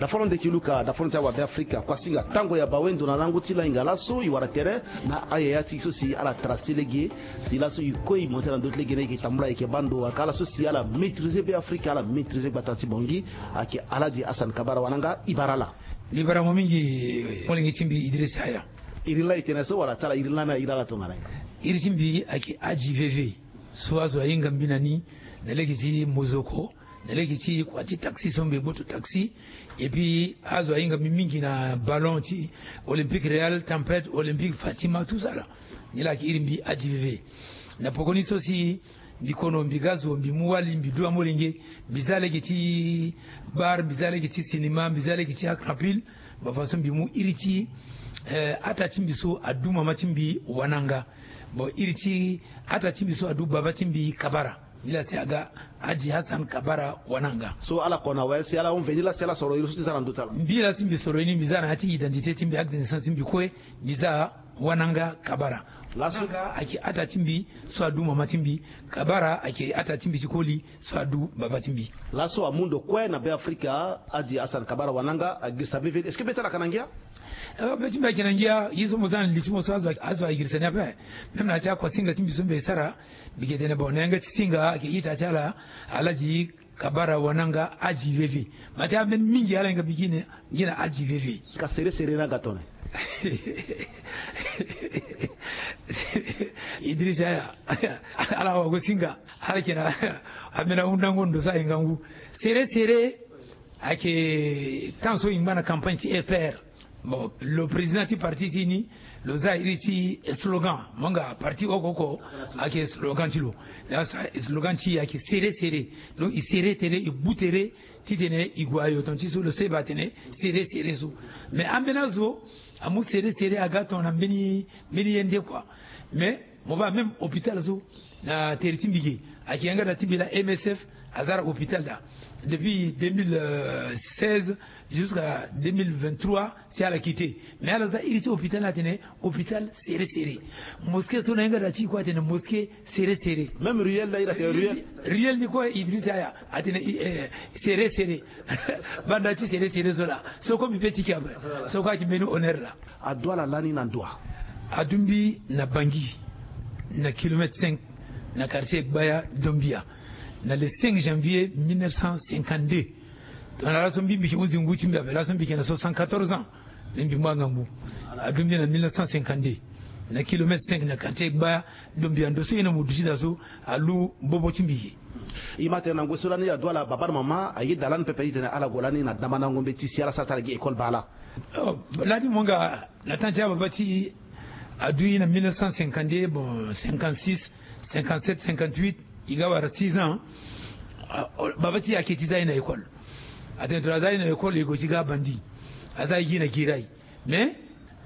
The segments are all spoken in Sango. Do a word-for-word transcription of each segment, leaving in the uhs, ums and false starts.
Dafono ndeki luka, dafono ti awabe Afrika, kuasinga tango ya bawe ndo na lango ti lainga laso e wara tere na ayaya ti so si ala tara si lege, si laso e kue e monte na ndö ti lege na e yeke tambula e yeke baa ndo aka ala so si ala maîtriser be Afrika, ala maîtriser gbata ti Bangui, ayeke Aladi Hassan Kabara Wananga, e bara ala. Mbi bara mo mingi, molenge ti mbi Idriss Yaya. Iri laa e tene so wala ti ala iri lani airi ala tongana nyen? Iri ti mbi ayeke Adji Veve, so azo ahinga mbi na ni na lege ti mozoko, na lege ti kua ti taxi so mbi gboto taxi. Et puis azo ahinga mbi mingi na ballon ti Olympique Real, Tempête, Olympique Fatima, tout ça là. Ni laa ayeke iri mbi Adji Veve. Na poko ni so si mbi kono, mbi ga zo, mbi mu wali, mbi du amolenge, mbi za lege ti bar, mbi za lege ti cinéma, mbi za lege ti akrapil. Ba façon mbi mu iri ti, eh, ata ti mbi so adu mama ti mbi Wananga. Bon, iri ti ata ti mbi so adu baba ti mbi Kabara. Ni laa si aga Adji Hassan Kabara Wananga. So ala kona we si ala hon veni laa si ala soro iri so ti za na ndö ti ala. Mbi laa si mbi soro ini, mbi za na ya ti identité ti mbi, acte de naissance ti mbi kue, mbi za Wananga Kabara. Laso Wananga ayeke ata ti mbi so adu mama ti mbi. Kabara ayeke ata ti mbi ti koli so adu baba ti mbi. Laso amu ndo kue na be Afrika, Adji Hassan Kabara Wananga, agirisa be veni. Est-ce que be ti ala ayeke na ngia? Eh, be ti mbi ayeke na ngia. Ye so mo za na li ti mo so azo, azo agirisa ni ape. Même na ya ti akuasinga ti mbi so mbi sara, mbi yeke tene bon, na yanga ti singa ayeke ita ti ala, Aladi Kabara Wananga Adji Veve. Ma ti ambeni mingi ala hinga mbi gi na, gi na Adji Veve. Ka sere sere ni aga tongana nyen? Idriss Yaya, ala wago singa, ala yeke na ambeni ahundango ndo so ahinga ngu. Sere sere ayeke temps so e ngba na campagne ti E P R. Bon, lo président ti parti ti e ni, lo za iri ti slogan. Mo hinga parti oko oko ayeke slogan ti lo. Laa sa slogan ti e ayeke sere sere. Donc e sere tere, e gbu tere titene e gue ayo ton ti so lo seba atene sere sere so. Mais ambeni azo amu sere sere aga tongana mbeni, mbeni ye nde kua. Mais mo baa même hôpital so na tere ti mbi ge, ayeke yanga da ti mbi laa M S F aza na hôpital da depuis deux mille seize jusqu'à deux mille vingt-trois, si ala quitté. Mais ala za iri ti hôpital ni atene hôpital sere sere. Mosquée so na yanga da ti e kue atene mosquée sere sere. Même ruelle laa iri atene ruelle. Ruelle ni kue Idriss Yaya atene, eh, sere sere. Banda ti sere sere so laa, so kue mbi pe ti ke ape. So kue ayeke mbeni honneur laa. Adu ala lani na ndo wa? Adu mbi na Bangui, na kilomètre cinq, na quartier Gbaya Dombia, na le cinq janvier mille neuf cent cinquante-deux. Tongana laso mbi, mbi yeke hunzi ngu ti mbi ape, laso mbi yeke na soixante-quatorze ans. Mbi mu angangu. Adu mbi na mille neuf cent cinquante-deux, na kilomètre cinq, na quartier Gbaya Dombia. Ndo so e na mo duti daa so alu bobo ti mbi ge. E ma tene na ngoi so lani adu ala baba na mama ayeda lani pepe titene ala gue lani na dambandango mbeti si ala sara ti ala gi école baa laa. Oh, lani mo hinga na temps ti ababa ti e adu e na mille neuf cent cinquante-deux, bon, cinquante-six, cinquante-sept, cinquante-huit, e ga wara six ans. Ah, oh, baba ti e ayeke ti za e na école. Atene tongana aza e na école e gue ti ga bandi. Aza e gi na Guiraye. Mais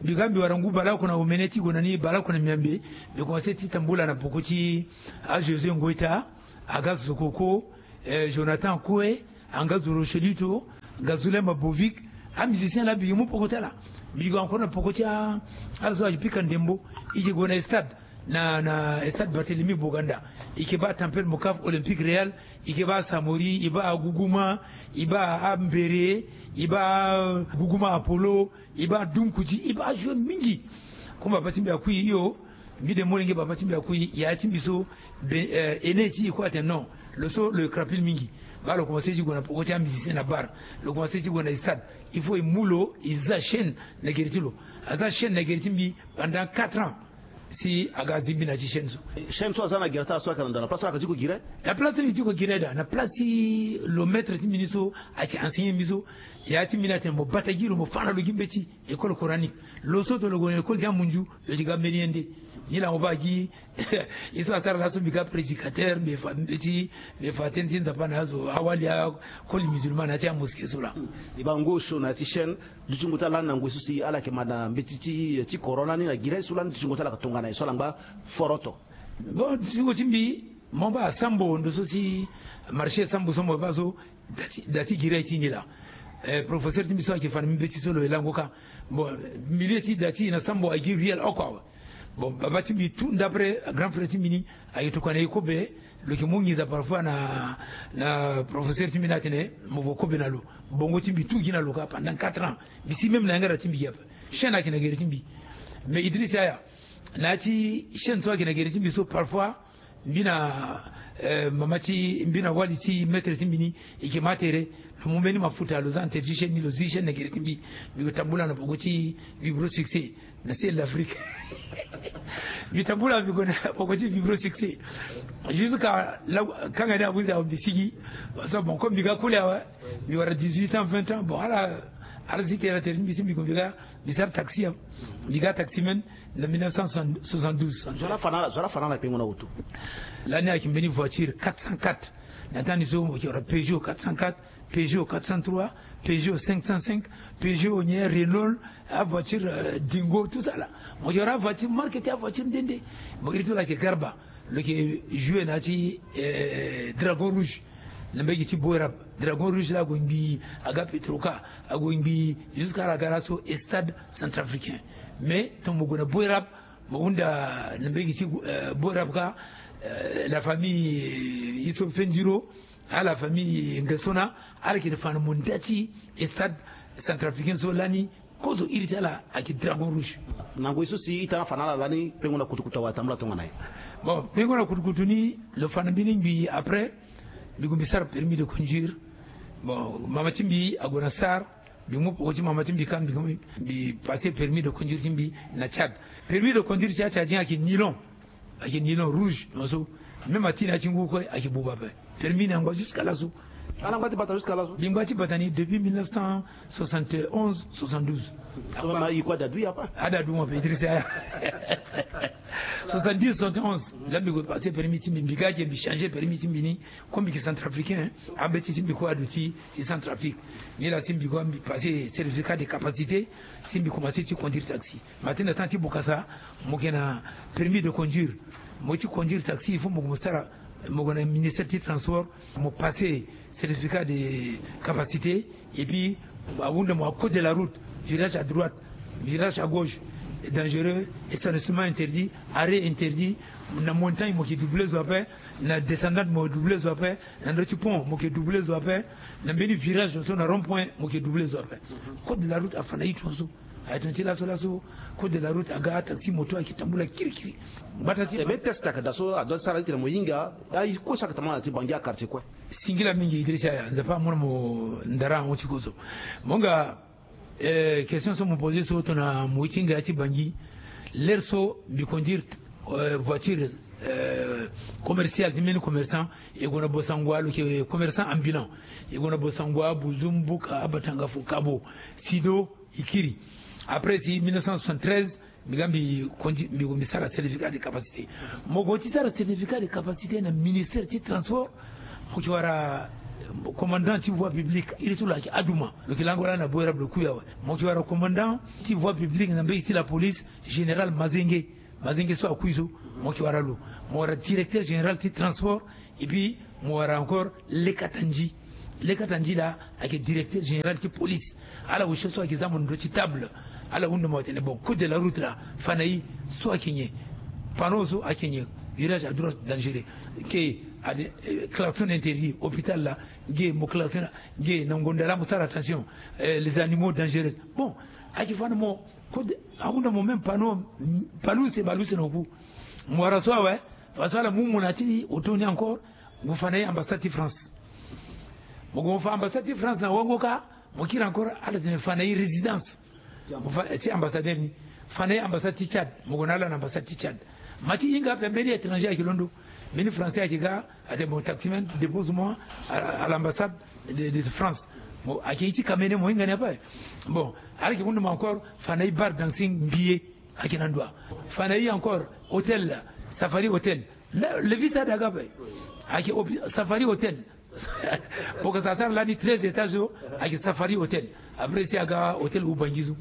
mbi ga mbi wara ngu baleoko na omene ti gue na ni, baleoko na miambe. Mbi commencé ti tambula na poko ti a José Ngoïta, aga Zokoko, eh, Jonathan Koué, anga Zoro Chelito, Gazoulen Mabovic, amusicien laa mbi yeke mu poko ti ala. Mbi yeke encore na poko ti a, ala so ayeke pika ndembo. E yeke gue na stade, na, na stade Barthélemy Boganda. E yeke baa Tempête Mocaf, Olympique Real, e yeke baa Samori, e baa Gougouma, e baa Ambere, e baa Gougouma Apollo, e baa Dumkuti, e baa joueur mingi. Comme baba ti mbi akui hio, mbi de molenge baba ti mbi akui, yaya ti mbi so, be, eh, aîné ti e kue atene non. Lo so lo ye krapil mingi. Baa lo commencé ti gue na poko ti amusicien na bar. Lo commencé ti gue na stade. Il faut e mu lo, e za chaîne na gere ti lo. Aza chaîne na gere ti mbi pendant quatre ans. Si aga azi mbi na ya ti chaîne so. Chaîne so aza na gere ti ala so ayeke na ndo, na place so ala yeke ti gue Guiraye? Na place so mbi ti gue Guiraye daa, na place ti lo maître ti mbi ni so ayeke enseigné mbi so. Yaya ti mbi ni atene mo bata gi lo, mo fa na lo gi mbeti école coranique. Lo so tongana lo gue na école ti amunzu, lo yeke ga mbeni ye nde. Ni laa mo baa gi. Ye so asara laso mbi ga prédicateur, mbi fa mbeti, mbi fa tënë ti Nzapa na azo awali akoli musulman na ya ti amosquée so laa. E baa ngu osio na ya ti chaîne, dutingo ti ala lani na ngoi so si ala yeke ma na mbeti ti, ti corona ni na Guiraye so lani, dutingo ti ala yeke tongana nyen so ala ngba foroto? Bon, dutingo ti mbi, mo baa Sambo, ndo so si marché Sambo so mo baa so, da ti, da ti Guiraye ti ni laa. Eh, professeur ti mbi so ayeke fa na mbi mbeti so lo ye lango kâ. Bon, milieu ti da ti e na Sambo ayeke gi ruelle oko awe. Bon, baba ti mbi tout d'après grand frère ti mbi ni ayeke tokua na e kobe, Lo yeke mu nginza parfois na na professeur ti mbi ni atene mo vo kobe na lo. Bongo ti mbi tout gi na lo kâ pendant quatre ans. Mbi si même na yanga da ti mbi gi ape. Chaîne ayeke na gere ti mbi. Mais Idriss Yaya, na ya ti chaîne so ayeke na gere ti mbi so, parfois mbi na mama ti mbi na wali ti maître ti mbi ni, e yeke ma tere. Lo mu mbeni mafuta, lo za interdit chaîne ni, lo zi chaîne na gere ti mbi. Mbi gue tambula na poko ti Vibro Succès na ciel d'Afrique. Mbi tambula mbi gue na poko ti Vibro Succès jusqu'à kanga ni abuze awe mbi sigi. Parce que bon, comme mbi ga kule awe, mbi wara dix-huit ans, vingt ans. Bon, ala ala zi tere na tere ti mbi si mbi gue mbi ga mbi sara taxi awe. Mbi ga taxi même na mille neuf cent soixante-douze. Zo la fa na ala, zo la fa na ala kpengo na wutu. Lani ayeke mbeni voiture quatre cent quatre. Na temps ni so mo yeke wara Peugeot quatre cent quatre, Peugeot quatre cent trois, Peugeot cinq cent cinq, Peugeot nyen, Renault, avoiture Dingo, tout ça là. Mo yeke wara avoiture marque ti avoiture nde nde. Mo iri ti lo ayeke Garba. Lo yeke jouer na ya ti Dragon Rouge na mbage ti Boerab. Dragon Rouge la ague ngbii, aga Petroca, ague ngbii jusqu'à ala ga laso Stade Centrafricain. Mais tongana mo gue na Boerab, mo hunda na mbage ti Boerab kâ, la famille Iso Fendiro, ala famille Ngesona, ala yeke fa na mo nda ti Stade Centrafricain so lani. Kozo iri ti ala ayeke Dragon Rouge. Na ngoi so si ita na fa na ala lani, pengo na kutukutu awe atambula tongana nyen? Bon, pengo na kutukutu ni, lo fa na mbeni ngbii. Après mbi gue mbi sara permis de conduire. Bon, mama ti mbi ague na sar. Mbi mu poko ti mama ti mbi kâ, mbi gue mbi passer permis de conduire ti mbi na Tchad. Permis de conduire ti atchadien ayeke nilon. Ayeke nilon rouge, non so. Même ati na ya ti ngu kue ayeke buba ape. Permis ni angba jusqu'à laso. Ala ngba ti bata jusqu'à laso. Mbi ngba ti bata ni depuis mille neuf cent soixante et onze, soixante-douze. So ma yi kue ada du ya pa? Ada du mo ape, Idriss Yaya. Soixante-dix, soixante et onze, la mbi gue passer permis ti mbi, mbi ga ge mbi changer permis ti mbi ni. Comme mbi yeke Centrafricain, ambeti ti mbi kue aduti ti Centrafrique. Ni la si mbi gue mbi passer certificat de capacité, si mbi commencer ti conduire taxi. Mais ati na temps ti bokasa, mo yeke na permis de conduire. Mo ti conduire taxi, il faut mo gue mo sara, mo gue na ministère ti transport, mo passer certificat de capacité. Et puis ahunda mo à code de la route, virage à droite, virage à gauche, dangereux, stationnement interdit, arrêt interdit. Na montagne mo yeke doubler zo ape, na descendante mo doubler zo ape, na ndö ti pont mo yeke doubler zo ape, na mbeni virage so na rond point mo yeke doubler zo ape. Code de la route afa na ye tongaso. Aye tongana ti laso laso, code de la route aga taxi moto ayeke tambula kirikiri. Gbata ti e be test ayeke daa so adoit ti sara ti tene mo hinga aye kue so ayeke tambula na ti Bangui, a quartier kue. Singila mingi Idriss Yaya, Nzapa amona mo ndara ahon ti kozo. Mo nga, eh, question so mo poser so tongana mo ye ti hinga ya ti Bangui. L'heure so mbi conduire, eh, voiture, eh, commerciale ti mbeni commerçant, e gue na Bossangoa, lo yeke commerçant ambulant. E gue na Bossangoa, Bouzou, Mbouka, Abatanga, Fukabo, Sido, e kiri. Après si mille neuf cent soixante-treize, mbi ga mbi conduire, mbi gue mbi sara certificat de capacité. Mo gue ti sara certificat de capacité na ministère ti transport, mo yeke wara commandant ti voie publique, iri ti lo ayeke Adouma, lo yeke lango lani na Boerab, lo kui awe. Mo yeke wara commandant ti voie publique na mbage ti la police, général Mazenge. Mazenge so akui so, mo yeke wara lo. Mo wara directeur général ti transport. Et puis mo wara encore Lekatandji. Lekatandji la ayeke directeur général ti police. Ala wusio so ayeke za mo na ndö ti table. Ala hunda mo atene bon, code de la route la fa na ye, so ayeke nyen? Panneau so ayeke nyen? Virage à droite dangereux. Ke ade, eh, klaxon interdit. Hôpital la, ge mo klaxon, ge na ngonda la mo sara attention. Eh, les animaux dangereux. Bon, ayeke fa na mo, code, ahunda mo même panneau, mm, baleuse baleuse na oku. Mo wara so awe. Fa so ala mu mo na ya ti auto ni encore, mo fa na ye ambassade ti France. Mo gue mo fa ambassade ti France na wango kâ. Mo kiri encore, ala tene fa na ye résidence. Mo fa ti ambassadeur ni. Fa na ye ambassade ti Tchad. Mo gue na ala na ambassade ti Tchad. Ma ti hinga ape mbeni étranger ayeke londo. Mbeni français ayeke ga, atene bon, taximan, dépose moi à, à l'ambassade de, de France. Mo ayeke ye ti kamene, mo hinga ni ape. Bon, ala yeke hunda mo encore, fa na ye bar dancing Mbiye. Ayeke na ndoa. Fa na ye encore hôtel, Safari Hôtel. Le, le visa daga ape. Ayeke Safari Hôtel. Bokasa asara lani treize étages so, ayeke Safari Hôtel. Après si aga hôtel Ubangui so.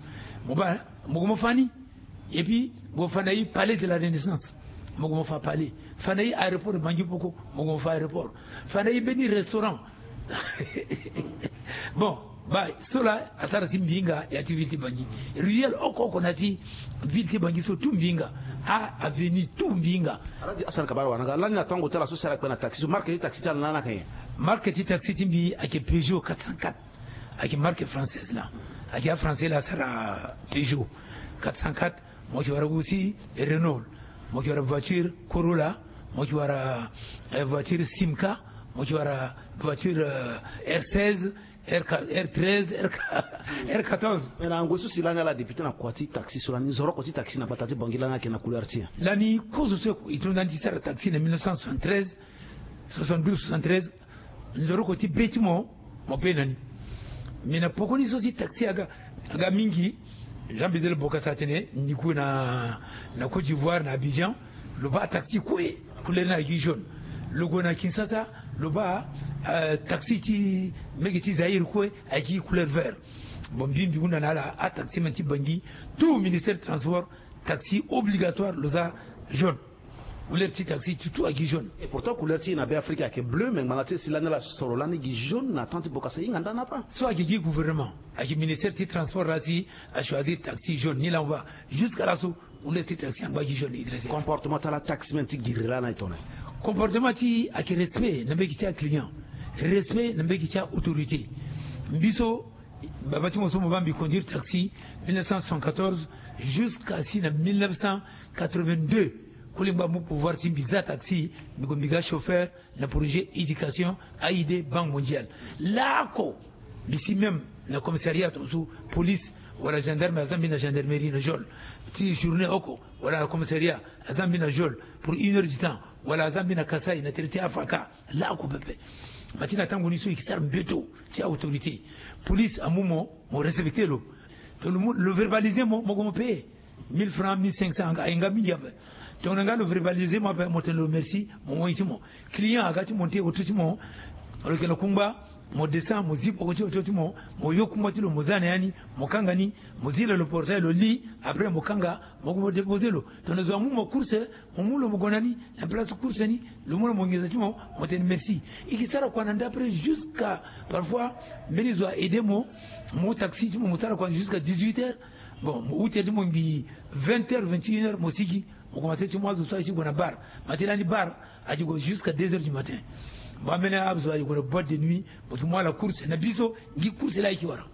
Mo baa, mo gue mo fa ni. Et puis mo fa na ye Palais de la Renaissance. Mo gue mo fa palais. Fa na ye aéroport Bangui Poko. Mo gue mo fa aéroport. Fa na ye mbeni restaurant. Bon, baa so la asara si mbi hinga ya ti ville ti Bangui. Ruelle oko oko na ya ti ville ti Bangui so tout mbi hinga. A avenue tout mbi hinga. Aladi Hassan Kabara wara nga lani na tango ti ala so si ala kpe na taxi so, marque ti taxi ti ala na ala yeke nyen? Marque ti taxi ti mbi ayeke Peugeot quatre cent quatre. Ayeke marque française laa. Ayeke afrançais laa asara Peugeot quatre cent quatre. Mo yeke wara aussi Renault. Mo yeke wara voiture Corolla. Mo yeke wara eh, voiture Simca. Mo yeke wara voiture eh, R seize, R, R treize, R, R quatorze. Mais na ngoi so si lani ala député na kua ti taxi so lani, nzoroko ti taxi na gbata ti Bangui lani ayeke na couleur ti nyen? Lani kozo so e tongana ti sara taxi na mille neuf cent soixante-treize, soixante-douze, soixante-treize, nzoroko ti be ti mo, mo pe na ni. Mais na poko ni so si taxi aga, aga mingi. Jean Bedel Bokassa atene ni gue na, na Côte d'Ivoire, na Abidjan, lo baa taxi kue couleur ni ayeke gi jaune. Lo gue na Kinshasa, lo baa eh, taxi ti mbege ti Zaïre kue ayeke gi couleur vert. Bon, mbi mbi hunda na ala ataximan ti Bangui, tout ministère transport, taxi obligatoire lo za jaune. Couleur ti taxi ti tout ayeke gi jaune. Et pourtant couleur ti e na Beafrika ayeke bleu, mais ngbanga ti e si lani ala soro lani gi jaune na temps ti Bokassa e hinga nda na apa? So ayeke gi gouvernement, ayeke ministère ti transport laa si achoisir taxi jaune ni laa mo baa. Jusqu'à laso couleur ti taxi angba gi jaune. Idrissa. Comportement ti ala taximan ti giri lani aye tongana nyen? Comportement ti e ayeke respect na mbege ti aclient, respect na mbege ti aautorité. Mbi so baba ti mo so mo baa mbi conduire taxi mille neuf cent soixante-quatorze jusqu'à si na mille neuf cent quatre-vingt-deux. Koli ngbaa mu pouvoir si mbi za taxi, mbi gue mbi ga chauffeur na projet éducation, A I D, Banque Mondiale. Laoko mbi si même na commissariat tongaso, police wala gendarme aza mbi na gendarmerie na geôle ti journée oko, wala na commissariat aza mbi na geôle pour une heure du temps, wala aza mbi na Kasaï na tere ti Afaka. Laoko pepe. Ma ti na tango ni so e ke sara mbeto ti autorité. Police amu mo, mo respecter lo. Donc lo mu, lo verbaliser mo, mo gue mo payer mille francs, mille cinq cents, anga aye nga mingi ape. Tongana nga lo verbaliser mo ape, mo tene lo merci, mo moi ti mo. Client aga ti monter auto ti mo, lo yeke na kungba, mo descend, mo zi poko ti auto ti mo, mo yo kungba ti lo, mo za na ya ni, mo kanga ni, mo zi na lo portail, lo li. Après mo kanga, mo gue mo déposer lo. Tongana zo amu mo course, mo mu lo mo gue na ni na place course ni, lo mu na mo nginza ti mo, mo tene merci. E ke sara kua na nda après jusqu'à, parfois mbeni zo a aider mo, mo taxi ti mo, mo sara kua jusqu'à dix-huit heures. Bon, mo huit heures ti mo ngbii, vingt heures, vingt et une heures mo sigi, mo commencer ti mu azo so aye ti gue na bar. Ma ti lani bar ayeke gue jusqu'à deux heures du matin. Bon, ambeni azo ayeke gue na boîte de nuit, mo yeke mu ala course. Na biso, ngi course laa ayeke wara.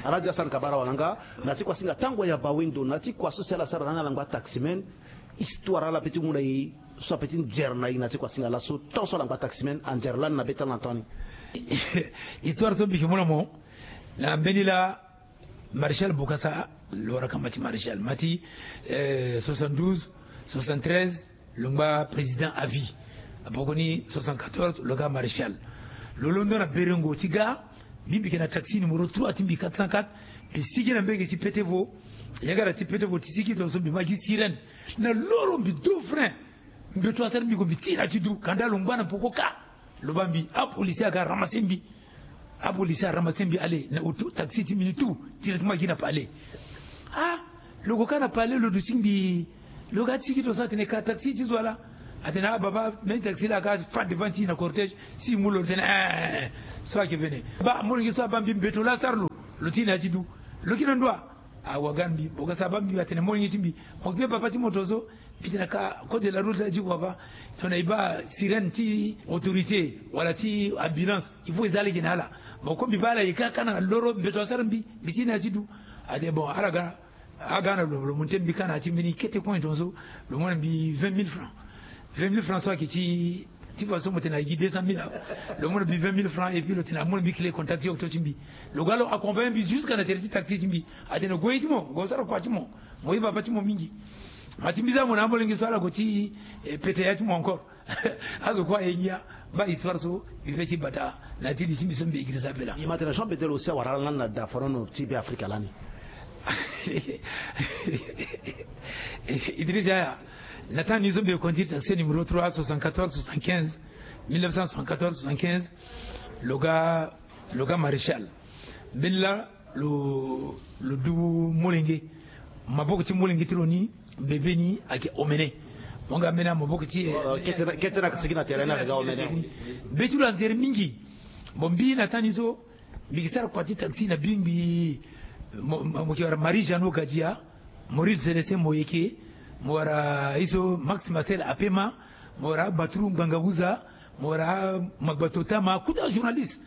Aladi Hassan Kabara wala nga na ti kua singa tango ya bawendo na ti kua so si ala sara lani ala ngba taximen. Histoire ala pe ti mu na e so ape ti nzere na e na ti kua singa laso tant so ala ngba taximen anzere lani na be ti ala na temps ni. Histoire so mbi yeke mu na mo na mbeni laa, Maréchal Bokassa, lo wara kama ti maréchal. Ma ti eh, soixante-douze, soixante-treize, lo ngba président à vie. Apoko ni soixante-quatorze lo ga maréchal. Lo londo na berengo ti ga, mbi mbi yeke na taxi numéro trois ti mbi, quatre cent quatre. Mbi sigi na mbege ti Petevo. Yagara ti Petevo ti sigi tongaso mbi ma gi sirène. Na loro mbi do frein. Mbeto asara mbi gue mbi ti na ti du, kanda lo ngba na poko ka. Lo baa mbi, apolisi aga ramassé mbi. Apolisi aramassé mbi, allé na auto taxi ti mbi ni tout, directement gi na palais. Ah, lo gue kâ na palais, lo duti mbi. Lo ga ti gi tongaso atene ka taxi ti zo wa laa. Atene ah baba, mbeni taxi laa aga fa devant ti e na cortège. Si e mu lo, lo tene eh, eh, eh, so ayeke vene. Baa molenge so abaa mbi, mbeto laa asara lo. Lo ti na ya ti du. Lo yeke na ndo wa? Awaga mbi, Bokassa abaa mbi, atene molenge ti mbi, mo yeke pe baba ti mo tongaso? Mbi tene ka code de la route la di kua baa, tongana e baa sirène ti autorité wala ti ambulance, il faut e za lege na ala. Mo ko mbi baa ala e ka, ka na loro mbeto asara mbi, mbi ti na ya ti du. Atene bon, ala ga, aga na lo, lo mu ti mbi ka na ya ti mbeni kete coin tongaso, lo mu na mbi vingt mille francs. Vingt mille francs so ayeke ti, ti façon mo tene ayeke gi deux cent mille awe. Lo mu na mbi vingt mille francs et puis lo tene amu na mbi clé contact ti auto ti mbi. Lo ga lo accompagner mbi jusqu'à na tere ti taxi ti mbi. Atene gue ye ti mo, gue sara kua ti mo. Mo ye baba ti mo mingi. Ma ti mbi za mo na amolenge so ala gue ti eh, pete ya ti mo encore. Azo kue aye ngia. Baa histoire so mbi pe ti bata na ya ti li ti mbi so mbi écrit ça ape laa. E ma tene Jean Bedel aussi awara ala lani na dafanono ti Beafrika lani. Idriss Yaya, na temps ni so mbi conduire taxi numéro trois, soixante-quatorze, soixante-quinze, mille neuf cent soixante-quatorze, soixante-quinze, lo ga, lo ga maréchal. Mbeni laa lo, lo du molenge. Maboko ti molenge ti lo ni, bebe ni ayeke omene. Mo nga mbeni amaboko ti e. Kete na, kete na sigi na tere ni ayeke ga omene. Be ti lo anzere mingi. Bon, mbi na temps ni so mbi yeke sara kua ti taxi na bingbi. Mo, mo, mo yeke wara Marie Jeannot Gadia, Maurice Célestin Moyeke, Mo wara iso Max Marcel Apema, mo wara Batrou Ngangahuza, mo wara Magbato Tama, kuta journaliste.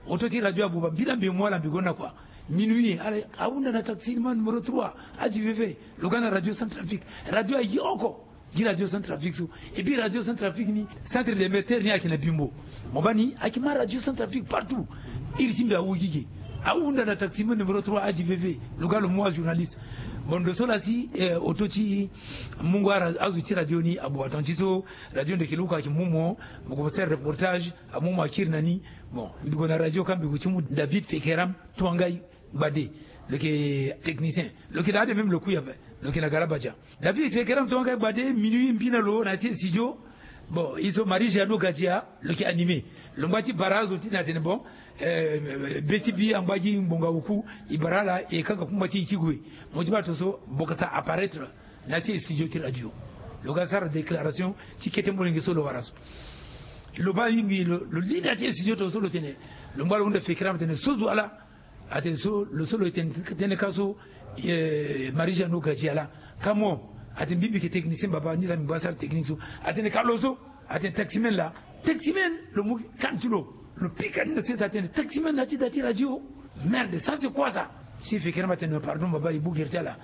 Oto ti radio abuba, mbila mbi mo ala mbi gonda kua. Minuit, ala, ahunda na taxi ni ma numéro trois, Adji Veve, lo ga na radio Centrafrique. Radio ayoko gi radio Centrafrique so. Et puis radio Centrafrique ni, centre d'émetteur ni ayeke na Bimbo. Mo baa ni ayeke ma radio Centrafrique partout. Iri ti mbi awu gi ge. Ahunda na taxi ma numéro trois, Adji Veve, lo ga lo mu ajournaliste. Bon, ndo so laa si, eh, oto ti mungo ara azo ti radio ni abuba. Tonga ti so radio Ndeke Luku ayeke mu mo, mo commencer reportage, amu mo akiri na ni. Bon, mbi gue na radio ka mbi gue ti mu David Fekeram Tuangai Gbade, lo yeke technicien. Lo yeke na ade même lo kui ape, lo yeke na Galabadia. David Fekeram Tuangai Gbade, minuit mbi na lo na ya ti studio. Bon, iso Marie Jeannot Gadia lo yeke animé. Lo ngba ti bara azo ti na tene bon, eh, be ti bi angba gi ngbonga oku, e bara ala e kanga kungba ti e ti gue. Mo ti baa tongaso Bokassa apparaître na ya ti studio ti radio. Lo ga sara déclaration ti kete molenge so lo wara so. Lo baa yingi lo, lo li na ya ti studio tongaso lo tene, lo ngba lo hunda Fekeram tene so zo ala. Atene so, lo so lo tene, tene ka so, eh, Marie Jeannot Gadia laa. Ka mo, atene mbi mbi yeke technicien baba, ni laa mbi ngba sara technique so. Atene ka lo so, atene taximen laa. Taximen, lo mu kan ti lo, lo pika ni na sese atene taximen na ya ti da ti radio. Merde, ça c'est quoi ça? Si Fekeram atene pardon baba, e bongiri ti ala.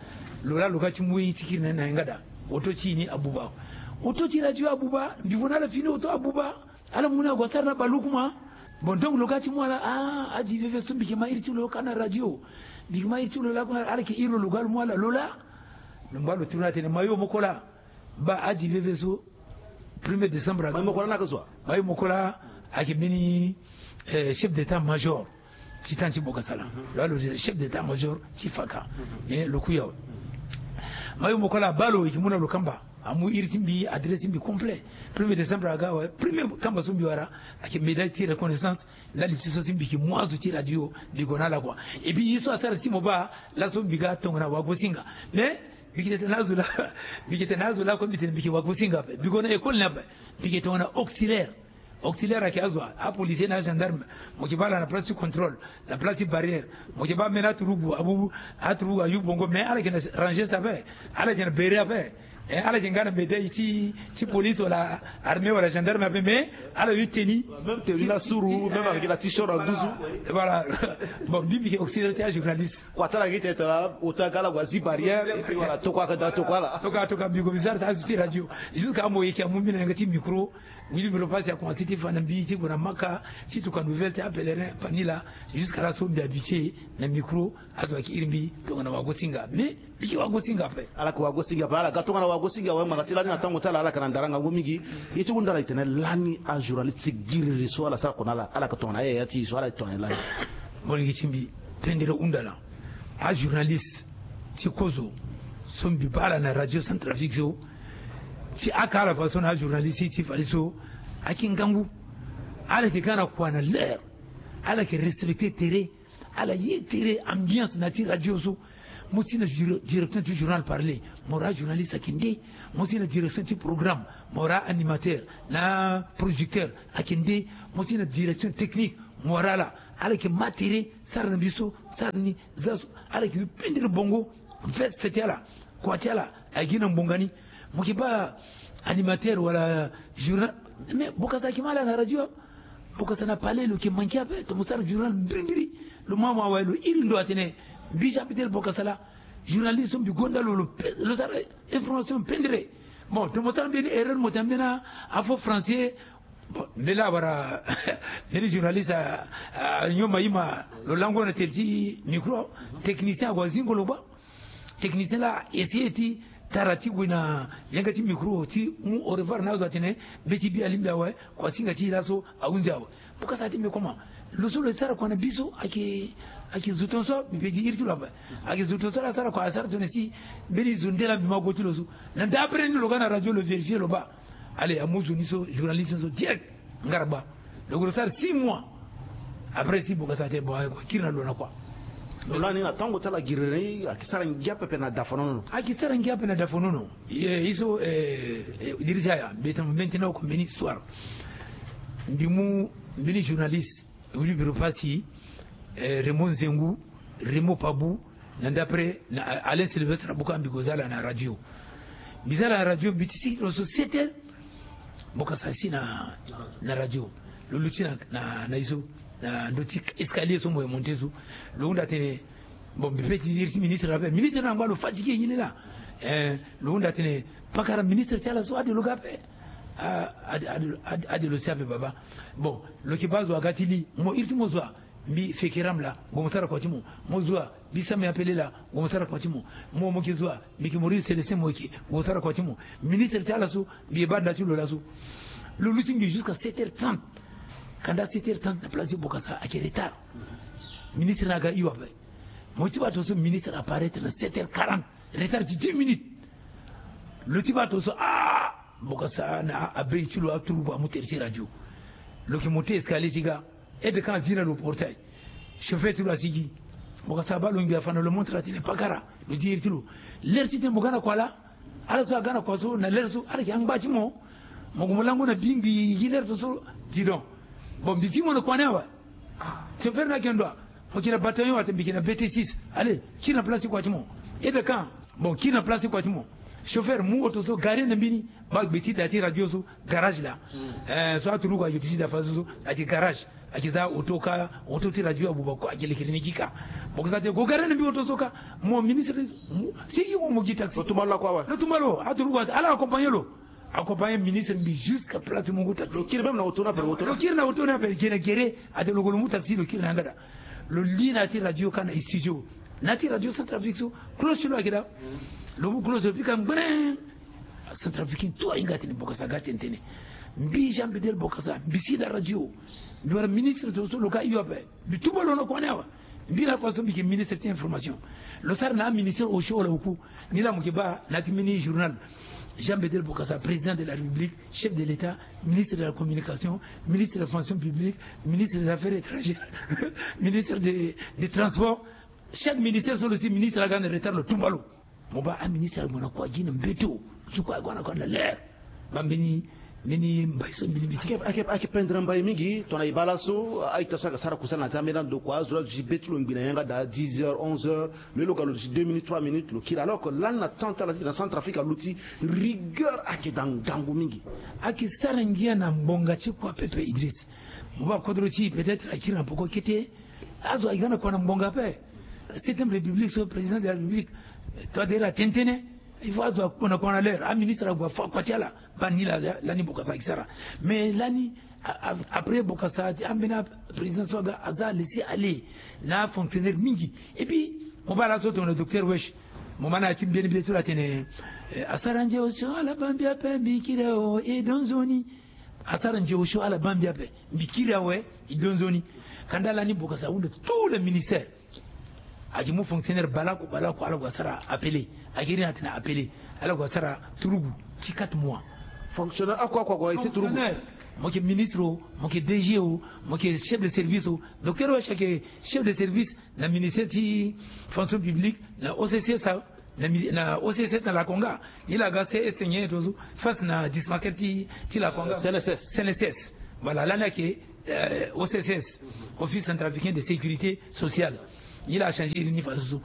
Lo laa lo ga ti mu ye ti kiri na ni na yanga daa. Oto ti e ni abuba. Oto ti radio abuba, mbi vo na ala fini oto abuba. Ala mu ni ague asara na balukuma. Bon, donc lo ga ti mu ala, ah, Adji Veve so mbi yeke ma iri ti lo ka na radio. Mbi yeke ma iri ti lo lakue, ala yeke iri lo, lo ga lo mu ala lo laa. Lo ngba lo turu ni atene mayo moko laa. Baa Adji Veve so, premier décembre aga. Mayo moko laa na ka so? Mayo moko laa ayeke mbeni, eh, chef d'état-major ti temps ti Bokassa laa. Lo, lo chef d'état-major ti Faka. Eh, lo kui awe. Mayo moko laa abaa lo, e yeke mu na lo kamba. Amu iri ti mbi, adresse ti mbi complet. Premier décembre aga awe, premier kamba so mbi wara ayeke médaille ti reconnaissance. Ndali ti so si mbi yeke mu azo ti radio, mbi gue na ala kua. Et puis ye so asara si mo baa laso mbi ga tongana wagosinga. Mais mbi yeke tene na azo laa, mbi yeke tene na azo laa kue, mbi tene mbi yeke wagosinga ape. Mbi gue na école ni ape. Mbi yeke tongana auxiliaire. Auxiliaire ayeke azo, apolicier na agendarme. Mo yeke baa ala na place ti contrôle, na place ti barrière. Mo yeke baa mbeni aturugu abubu, aturugu ayu bongo, mais ala yeke na rangers ape. Ala yeke na béret ape. Eh, ala yeke nga na médaille ti, ti police wala armée wala gendarme ape, mais ala yu tenue. Même tenue ti, la suru, ti, même eh, avec la t-shirt en douze. Voilà. Bon, mbi mbi yeke auxiliaire ti ajournaliste. Kua ti ala gi tene tongana oto aga ala gue azi barrière, et puis voilà, tokua aga daa tokua ala. Tokua, tokua, mbi gue mbi sara ti azo ti radio. Jusqu'à mo yeke amu mbi na yanga ti micro. Wili mbi lo pasi akomanse ti fa na mbi ti gue na Maka ti tuka nouvelle ti apèlerin Panila. Jusqu'à laso mbi habitué na micro, azo ayeke iri mbi tongana wagosinga. Mais mbi yeke wagosinga ape. Ala yeke wagosinga ape, ala ga tongana wagosinga awe, ngbanga ti lani na tango ti ala, ala yeke na ndara ngangu mingi. Ye ti hunda ala e tene lani ajournaliste ti giriri so ala sara kua na ala, ala yeke tongana ayaya ti e so, ala tongana e lani? Molenge ti mbi, pendere hunda laa. Ajournaliste ti kozo so mbi baa ala na radio Centrafrique so, ti aka ala fadeso na ajournaliste ti fade so, ayeke ngangu. Ala yeke ga na kua na l'heure. Ala yeke respecter tere. Ala ye tere, ambiance na ya ti radio so. Mo si na dir-, direction ti journal parler, mo wara ajournaliste ayeke nde. Mo si na direction ti programme, mo wara animateur na producteur ayeke nde. Mo si na direction technique, mo wara ala. Ala yeke ma tere, sara na mbi so, sara ni, za so. Ala yeke yu pendere bongo, veste ti ala, kua ti ala ayeke gi na ngbonga ni. Mo yeke baa animateur wala journal, mais Bokassa ayeke ma ala na radio. Bokassa na palais lo yeke manke ape, tongana mo sara journal mbirimbiri. Lo ma mo awe, lo iri ndo atene mbi Jean Bidel Bokassa laa, journaliste so mbi gonda lo, lo pe-, lo sara information pendere. Bon, tongana mo sara mbeni erreur, mo tene mbeni afo français. Bon, mbeni laa awara mbeni journaliste a, a, anyon ma ye ma lo lango na tele ti micro, technicien ague azingo lo baa. Technicien laa a essayer ti tara ti gue na yanga ti micro ti mu au revoir na azo atene be ti bi alingbi awe, kua singa ti e laso ahunzi awe. Bokassa ti mbi comment? Lo so lo sara kua na bi so ayeke, ayeke zo tongaso mbi pe di iri ti lo ape. Ayeke zo tongaso laa asara kua, asara tongana si mbeni zo nde laa mbi ma gue ti lo so. Na d'après ni lo ga na radio lo vérifier lo baa. Allez, amu zo ni so, journaliste ni so direct. Ngara gba. Donc lo sara six mois. Après si Bokassa atene bon, aye kue, kiri na lo na kua. Lo lani na tango ti ala giriri ni, ayeke sara ngia pepe na dafonono. Ayeke sara ngia pepe na dafonono. Ye, ye so, eh, eh, Idrissa Yaya, mbi tene maintenant oko mbeni histoire. Mbi mu mbeni journaliste, Willy Biro Passy, eh, Raymond Nzengu, Raymond Pabou, na d'après na Alain Sylvestre Abouka, mbi gue za ala na radio. Mbi za na radio, mbi ti sigi lo so sept heures. Bokassa asi na, na radio. Lo luti na, na, na ye so, na ndö ti escalier so mo ye monté so. Lo hunda atene, bon, mbi peut ti iri ti ministre ape. Ministre na angba lo fatigué, il est là. Eh, lo hunda atene, pakara, ministre ti ala so ade lo ga ape. Ah, ade, ade, ade, ade lo si ape, baba. Bon, lo yeke baa zo aga ti li, mo iri ti mo zo a, mbi Fekeram laa, gue mo sara kua ti mo. Mo zo a, mbi Samy Apele laa, gue mo sara kua ti mo. Mo, mo yeke zo a, mbi yeke Maurice Célestin, mo yeke, gue mo sara kua ti mo. Ministre ti ala so, mbi ye baa nda ti lo laso. Lo luti mbi jusqu'à sept heures trente. Kanda sept heures trente na place ti Bokassa ayeke retard. Ministre ni aga hio ape. Mo ti baa tongaso ministre apparaître na sept heures quarante. Retard ti dix minutes. Lo ti baa tongaso, ah, Bokassa na abeille ti lo, aturugu amu tere ti radio. Lo yeke monté escalier ti ga. Aide-de-camp azi na lo portail. Chauffeur ti lo asigi. Bokassa abaa lo ngbi afa na lo montre atene pakara. Lo di iri ti lo, l'heure ti tene mo ga na kua laa. Ala so aga na kua so na l'heure so, ala yeke angba ti mo. Mo gue mo lango na bi ngbi gi l'heure so so. Dis donc. Bon, mbi zi mo na kua ni awe. Chauffeur ni ayeke ndo a? Mo yeke na bataillon wala mbi yeke na B T six. Allez, kiri na place ti kua ti mo. Aide-de-camp. Bon, kiri na place ti kua ti mo. Chauffeur, mu oto so, garé na mbeni, baa gbe ti da ti radio so, garage laa. Eh, so aturugu ayo ti da fa so so, ayeke garage. Ayeke za oto ka, oto ti radio abuba kue, ayeke lekere ni gi ka. Bokassa atene gue garé na mbi oto so ka. Mo ministre, mo, sigi mo, mo gi taxi. Lo tumba lo lakue awe. Lo tumba lo, aturugu, ala accompagné lo. Accompagné ministre mbi jusqu'à place ti mungu taxi. Lo kiri même na oto ni ape, oto ni. Lo kiri na oto ni ape, ge na gere, atene lo gue lo mu taxi, lo kiri na yanga daa. Lo li na ya ti radio ka na studio. Na ya ti radio Centrafrique so, cloche ti lo ayeke daa. Lo mu cloche, lo pika ngbene. Centrafricain tout ahinga atene Bokassa aga tene tene. Mbi Jean Bedel Bokassa, mbi si na radio. Mbi wara ministre tongaso, lo ga hio ape. Mbi tumba lo na kua ni awe. Mbi na façon mbi yeke ministre ti information. Lo sara na aministère osio wala oku. Ni laa mo yeke baa na ya ti mbeni journal. Jean Bedel Bokassa, président de la République, chef de l'État, ministre de la communication, ministre de la fonction publique, ministre des affaires étrangères, ministre des, des transports. Chaque ministère so lo si ministre aga na retard, lo tumba lo. Mo baa aministre ague na kua gi na mbeti, lo so kue ague na kua na l'heure. Baa mbeni, mbeni mbai so mbili mbili. Ayeke, ayeke, ayeke pendere mbai mingi. Tongana e baa laso, a-ita so ayeke sara kusala na ya ti ambeni ando kua, azo laa azo ti be ti lo ngbi na yanga daa dix heures, onze heures. Lo ye lo ga lo duti deux minutes, trois minutes, lo kiri. Alors que lani na temps ti ala ti na Centrafrique aluti, rigueur ayeke daa ngangu mingi. Ayeke sara ngia na ngbonga ti kua pepe, Idriss. Mo baa kodro ti e peut-être akiri na poko kete. Azo aye ga na kua na ngbonga ape. Septième République so, président de la République, eh, toi d'ailleurs atene tënë. Il faut azo akpo na kua na l'heure. Aministre ague afa kua ti ala. Baa ni laa, lani Bokassa ayeke sara. Mais lani, a, a, après Bokassa, ti ambeni aprésident so aga, aza laisser aller na afonctionnaire mingi. Et puis mo baa laso tongana docteur Wesh, mo ma na ya ti mbeni mbeni ti lo atene, eh, asara nze osio ala baa mbi ape, mbi kiri awe, e do nzoni. Asara nze osio ala baa mbi ape, mbi kiri awe, e do nzoni. Kanda lani Bokassa ahunda tous les ministères. Ayeke mu fonctionnaire baleoko baleoko, ala gue asara appelé. Ayeke iri ni atene appelé. Ala gue asara turugu ti quatre mois. Fonctionnaire oko oko ague ese turugu. Fonctionnaire, mo yeke ministre o, mo yeke D G o, mo yeke chef de service o. Docteur Wesh ayeke chef de service na ministère ti fonction publique, na O C C S, na mi-, na O C C S na Lakonga. Ni laa aga C S T nyen to so, face na dispensaire ti, ti Lakonga. Euh, C N S S. C N S S. Voilà, lani ayeke, euh, O C C S, Office Centrafricain de Sécurité Sociale. Ni laa achangé iri ni faso so.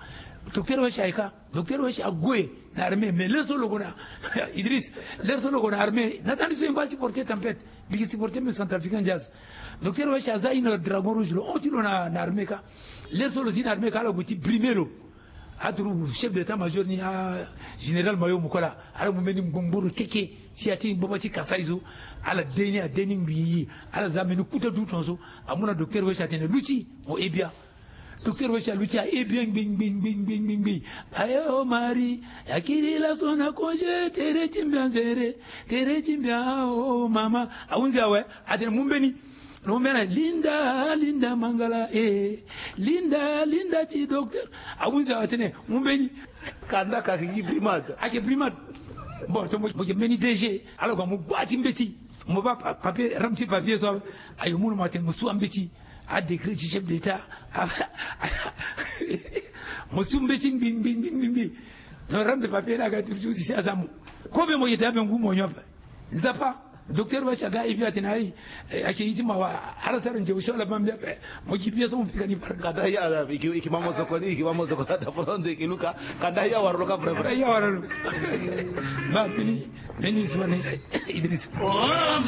Docteur Wesh ayeke, docteur Wesh ague na armée, mais l'heure so lo gue na, Idriss, l'heure so lo gue na armée, na tani so e ngba supporter tempête, mbi yeke supporter même Centrafricain Jazz. Docteur Wesh aza iri na Dragon Rouge, lo hon ti lo na, na armée ka. L'heure so lo zi na armée ka, ala gue ti brimer lo. Aturugu chef d'état-major ni, a général Mayo Mukola, ala mu mbeni ngbongboro keke ti ya ti gbagba ti Kasaï so. Ala de ni, ade ni ngbii. Ala za mbeni kuta dutu na so. Amu na docteur Wesh atene luti, mo he bia. Docteur Wesh aluti, ahe bia ngbii ngbii ngbii ngbii ngbii. Aye o Marie, akiri laso na congé, tere ti mbi anzere, tere ti mbi a o mama. Ahunzi awe, atene mu mbeni. Lo mu mbeni, Linda, Linda Mangala, eh. Linda, Linda ti docteur. Ahunzi awe atene mu mbeni. Kanda ka ayeke gi brimade. Ayeke brimade. Bon, to mo, mo yeke mbeni D G. Ala gue amu gbaa ti mbeti. Mo baa pa-, papier, rame ti papier so. Aye mu na mo atene mo su ambeti. Adécret ti chef d'état. A, mo su mbeti ngbii ngbii ngbii ngbii. Donc rame de papier ni aga ti lo ti si aza mo. Kobe mo yeke daa be ngu mo nyon ape. Nzapa. Docteur Bacha ga ibi atene ai, eh, ake iti ma wa ala sara nje usho la bambia pe. Mo ki bia so mo pika ni par. Kada ya la iki iki mamo soko ni iki mamo soko ta pro nde ki luka. Kada ya waro ka pre pre. Kada ya waro. Ba pini pini swane Idris.